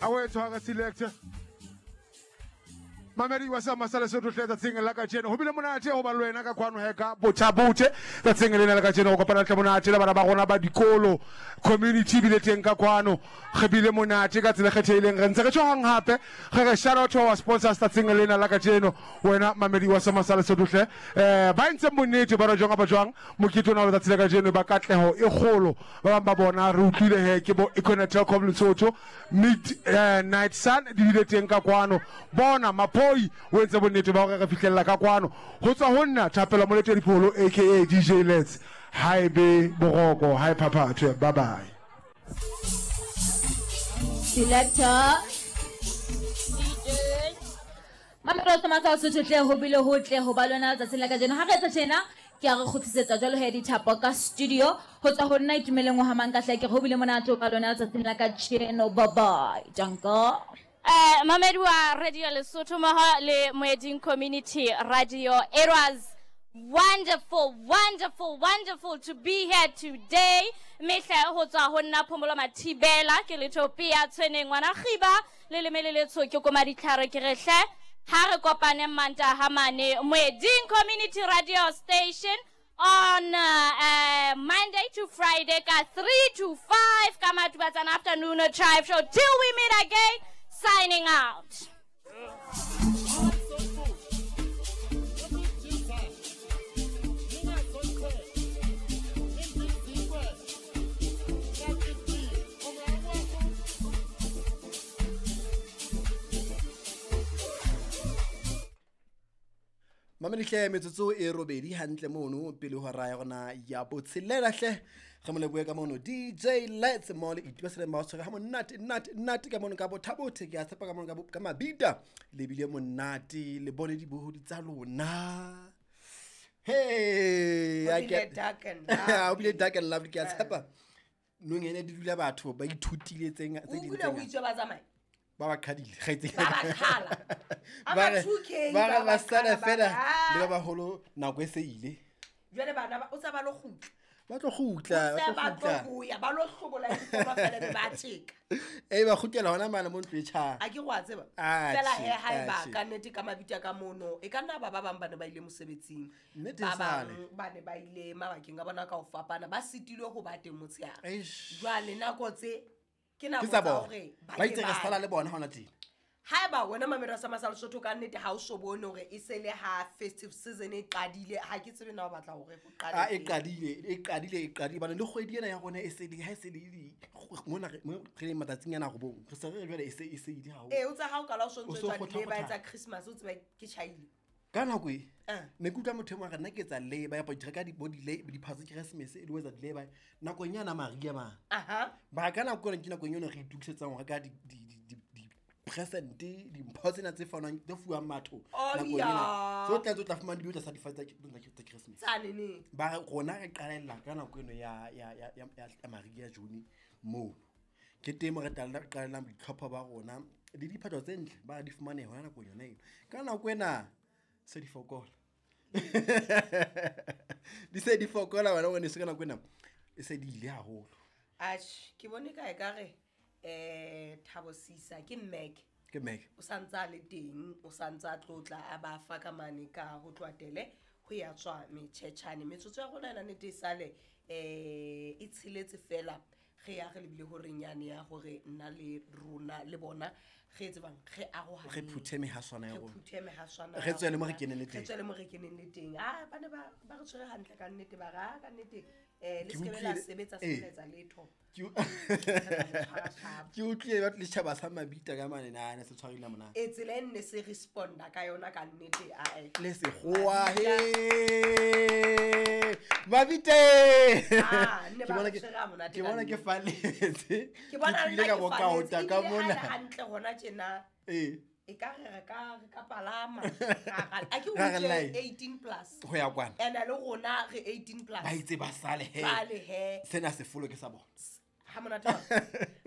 A o e tshwara selector. Mamedi wa sa masala se tle tsatsing la kajeno. Ho bile monate ho ba le wena ka kwano he ka bothabothe tsatsing lena la kajeno go kopana tle monate le bana ba rona ba dikolo. Community bile teng ka kwano. Re bile monate ka tsela e kgethehileng. Re ntse re tjho hang hape. Re re shout out to our sponsors tsatsing lena la kajeno. Wena mamedi wa sa masala se tle. Ba entseng bonnete ba re jwang kapa jwang mokete ona wa letsatsi la kajeno ba katleho e kgolo. Ba bang ba bona re utlwile he ke bo Econet Telkom Lesotho. Mid Night Sun di bile teng ka kwano. Bona Maphoi o entse bonnete ba hore re fihlella ka kwano. Ho tswa ho nna Thapelo Moletedi Pholo aka DJ Let's. Ha e be boroko, ha e phaphathwe. Bye bye. Selector DJ Mamelo sa matsa Sotho tle ho bile ho tle ho ba lona letsatsing la kajeno. Ha re etsa tjena ke a re kgutlisetsa jwalo he dithapo ka studio ho tswa ho nna Itumeleng wa Hamang ka hle ke re ho bile monate ho ba lona letsatsing la kajeno. Bye bye. Danko. Mamedi wa Radio Lesotho mmoho le Moeding Community Radio. It was wonderful, wonderful, wonderful to be here today. Mehle ho tswa ho nna Phomolo Mathibela ke Letopia Tshweneng ngwana Khiba le leme le letsho ke koma ditlhare ke re hle ha re kopane Mantaha mane Moeding Community Radio Station on Monday to Friday ka 3 to 5 ka Matubatsana afternoon drive show. Till we meet again, signing out. Mamedihle metsotso e robedi hantle mono pele hora ya rona ya botshelela hle re mo lebohe ka mono DJ Let's mo le itiba seleng ba tshwere ha monate nate nate ka mono ka bothabothe ke a tshepa ka mono ka mabita le bile monate le bone dibohodi tsa lona. Hey, I get dark and lovely. O bile dark and lovely ke a tshepa. Nong ene di dula batho ba ithutile tse tse ding tse. O ba tsamaya. Ba ba qhadile kgaitsedi. Ba ba qhala. Ba 2K ba ba sala fela le ba baholo nako e se ile. Jwale bana ba o tsa ba lo kgutla. Ba tlo kgutla, ba tlo boya, ba lo hlobola difomo fela be ba tjeka. Eh ba kgutlela hona mane mo ntlo e tjha. A ke go a tseba. Fela he ha e ba ka nnete ka mabitla ka mono. E ka nna ba ba bang ba ne ba ile mosebetsing. Ba bang ba ne ba ile mabakeng a bona ka ho fapana, ba sitilwe ho ba teng motshehare. Jwale nako tse ke nako tsa hore ba itse re sala le bona hona teng. Haeba wena mamelo sa Masala Sotho ka nnete ha o so bone hore e se le ha festive season e qadile, ha ke tsebe na o batla hore go qale. A e qadile bana le kgwedi ena ya rona e se le ha e se le mona re le matsatsing ana robong re se re jwale e se ile ha o. Eh o tsa ha o kala o sontso tswa di ba etsa Christmas o tseba ke chaile. Ka nako e ne ke utlwa motho e mong a re nna ke etsa lay-by ya reka di body lay diphatsa Christmas e le etsa lay-by nakong yana Maria ma. Ba ka nako ena ke nakong yona re itukisetsang ho reka di present dimpho tsena tse fanwang tse fuwang batho nakong ena. So tla tla fumana di tla sa difatsa tsa Christmas. Ba rona re qalella ka nako eno ya ya ya ya Maria June mo. Ke teng re qalellang boitlhopho ba rona le diphatho tse ntle ba di fumane hona nakong yona eno. Ka nako ena se di fokola. Di se di fokola wena wena se ka nako ena e se di ile haholo. Atjhe ke bone ka e ka re Thabo Sisa ke Mac. Ke Mac. O santsa le teng, o santsa tlotla a ba fa ka mane ka ho tlwatele ho ya tswa metjhetjhane. Metsotso ya rona ena nnete e sale e tsheletse fela re ya re lebile hore nyane ya hore nna le rona le bona re tsebang re arohane. Re phuthe mehaswana ya rona. Re phuthe mehaswana. Re tswele mo re keneng le teng. Re tswele mo re keneng le teng. Ah ba ne ba re tshwere hantle ka nnete ba ra ka nnete le se ke la sebetsa sebetsa letho. Ke utlwile ba le tjhaba sa mabita ka mane na se tshwarile mona. E tsela e nne se responda ka yona ka nnete a e. Le se goa he. Mabite. Ah ne ba tshwere monate. Ke bona ke faletse. Ke bona le ka bokaota ka mona. Hantle hona tjena. Eh. E ka re ka palama. A ke utlwe 18 plus. Ho ya kwana. Ena le rona re 18 plus. Ba itse ba sale he. Sale he. Sena se folo ke sa bona. Ha monate.